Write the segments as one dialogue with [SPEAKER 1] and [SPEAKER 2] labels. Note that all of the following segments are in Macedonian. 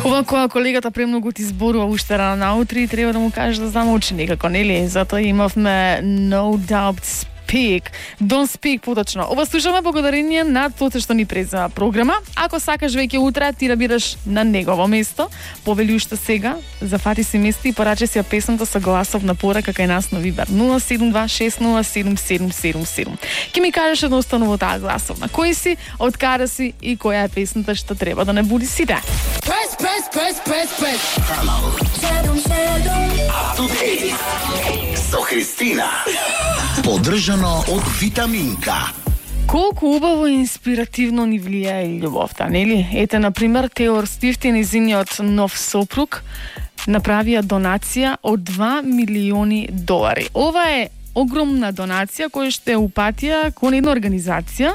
[SPEAKER 1] Ова која колегата премногу ти зборува уште рано наутри, треба да му кажеш да замолчи некако, нели? Затоа имавме No Doubt Speak. Don't speak поточно. Ова слушаме благодарение на тоа што ни презема програма. Ако сакаш веќе утре ти да бидеш на негово место, повели уште сега, зафати си место и порачи си ја песната со гласов на порака кај нас на Вибер 072-607-777. Ке ми кажеш едноставно во таа гласовна. Кој си, од каде си и која е песната што треба да не буди сите.
[SPEAKER 2] Press.
[SPEAKER 3] Со Христина. Поддржано од Витаминка.
[SPEAKER 1] Колку убаво и инспиративно ни влијае и љубовта, нели? Ете, например, Тейлор Свифт и нејзиниот нов сопруг направија донација од $2 милиони. Ова е огромна донација која што е упатија кон една организација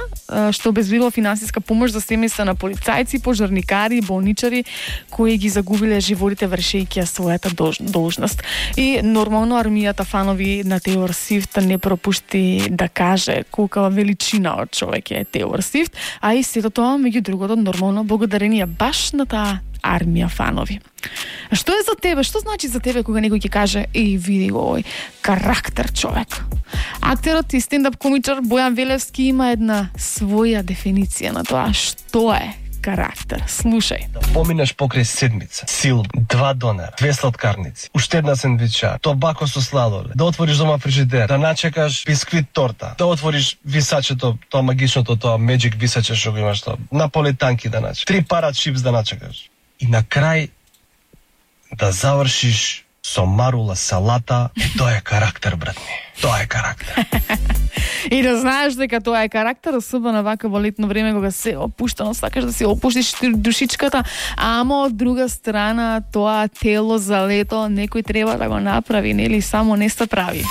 [SPEAKER 1] што обезбедува финансиска помош за семејства на полицајци, пожарникари и болничари кои ги загубиле животите вршејќи својата должност. И нормално армијата фанови на Тейлор Свифт не пропушти да каже колка величина од човек е Тейлор Свифт, а и сето тоа меѓу другото нормално благодарение баш на таа армија фанови. А што е за тебе? Што значи за тебе кога некој ќе каже „Еј, види го овој карактер човек"? Актерот и стендап комичар Бојан Велевски има една своја дефиниција на тоа што е карактер. Слушај.
[SPEAKER 4] Да поминеш покрај седмица, сил, 2 донара, 2 сладкарници, уште една сендвича, тобако со сладолед, да отвориш дома фрижидер, да начекаш бисквит торта, да отвориш висачето, тоа магичното, тоа меджик висаче што го имаш тоа, наполетанки да начекаш, 3 парат чипс да начекаш. И на крај да завршиш со марула салата, тоа е карактер, брат ми. Тоа е карактер.
[SPEAKER 1] И да знаеш дека тоа е карактер, особено вака во летно време кога се опуштано, сакаш да си опуштиш душичката, ама од друга страна тоа тело за лето некој треба да го направи, нели само не се прави.